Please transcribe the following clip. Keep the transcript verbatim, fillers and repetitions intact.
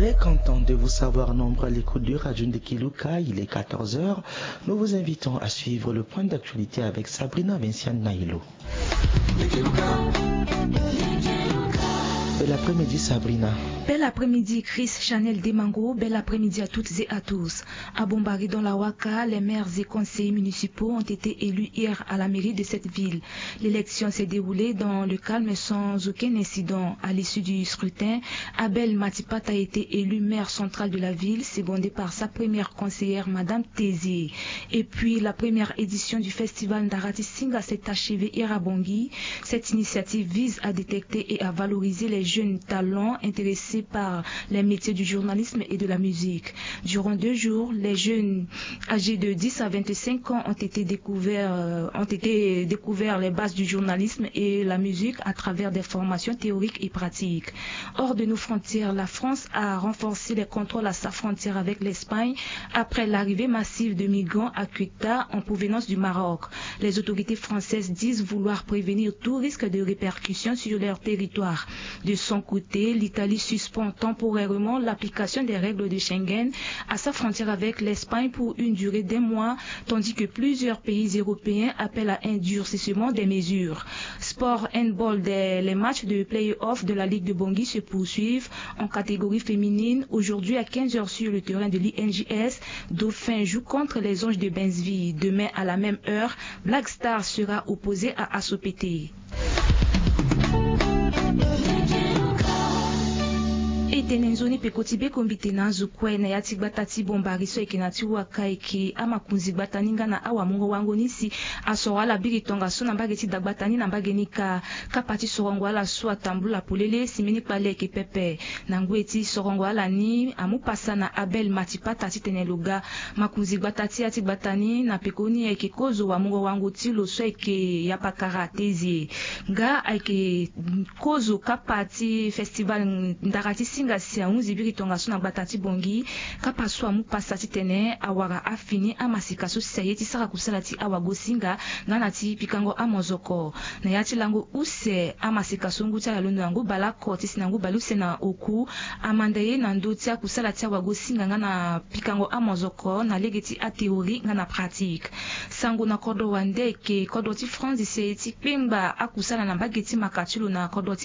Très content de vous savoir nombreux à l'écoute de Radio Ndekeluka. Il est quatorze heures. Nous vous invitons à suivre le point d'actualité avec Sabrina Vinciane Nailo. Bel après-midi, Sabrina. Bel après-midi, Chris Chanel Demango. Bel après-midi à toutes et à tous. À Bombari, dans la Waka, les maires et conseillers municipaux ont été élus hier à la mairie de cette ville. L'élection s'est déroulée dans le calme, sans aucun incident. À l'issue du scrutin, Abel Matipata a été élu maire central de la ville, secondé par sa première conseillère, Madame Tézié. Et puis, la première édition du festival Ndarati Singa s'est achevée hier à Bangui. Cette initiative vise à détecter et à valoriser les jeunes talents intéressés par les métiers du journalisme et de la musique. Durant deux jours, les jeunes âgés de dix à vingt-cinq ans ont été découverts, euh, ont été découverts les bases du journalisme et la musique à travers des formations théoriques et pratiques. Hors de nos frontières, la France a renforcé les contrôles à sa frontière avec l'Espagne après l'arrivée massive de migrants à Ceuta en provenance du Maroc. Les autorités françaises disent vouloir prévenir tout risque de répercussions sur leur territoire. De son côté, l'Italie suspend temporairement l'application des règles de Schengen à sa frontière avec l'Espagne pour une durée d'un mois, tandis que plusieurs pays européens appellent à un durcissement des mesures. Sport handball, des, les matchs de play-off de la Ligue de Bangui se poursuivent. En catégorie féminine, aujourd'hui à quinze heures sur le terrain de l'I N J S, Dauphin joue contre les Anges de Bensville. Demain à la même heure, Black Star sera opposé à Assopété. E tene nzoni peko ti be kombi tene azo kue na ya ti gbata ti Bombari so ayeke na ti waka ayeke amakonzi gbata ni nga na awamungo-wango ni si asoro ala biri tongaso na mbage ti dagbata ni na mbage ni kâ. Kapa ti sorongo ala so atambula polele si mbeni kpale ayeke pepe. Na ngoi ti sorongo ala ni amu pasa na Abel Matipata titene lo ga makonzi gbata ti ya ti gbata ni na peko ni ayeke kozo wamungo-wango ti lo so ayeke Yapakara Tezie. Nga ayeke kozo kapa ti festival ndara ti singa si ahunzi biri tongaso na gbata ti Bangui. Kapa so amu pasa titene awara afini amasika so si aye ti sara kusala ti awagosinga nga na ti pikango amozoko. Na ya ti lango use amasika so ngu ti ala alondo na ngu baleoko ti si na ngu baleuse na oku, amanda ye na ndö ti akusala ti awagosinga nga na pikango amozoko na lege ti athéorie nga na pratique. Sango na kodro wande ayeke kodro ti France si aye ti kpengba akusala na mbage ti maka ti lo na kodro ti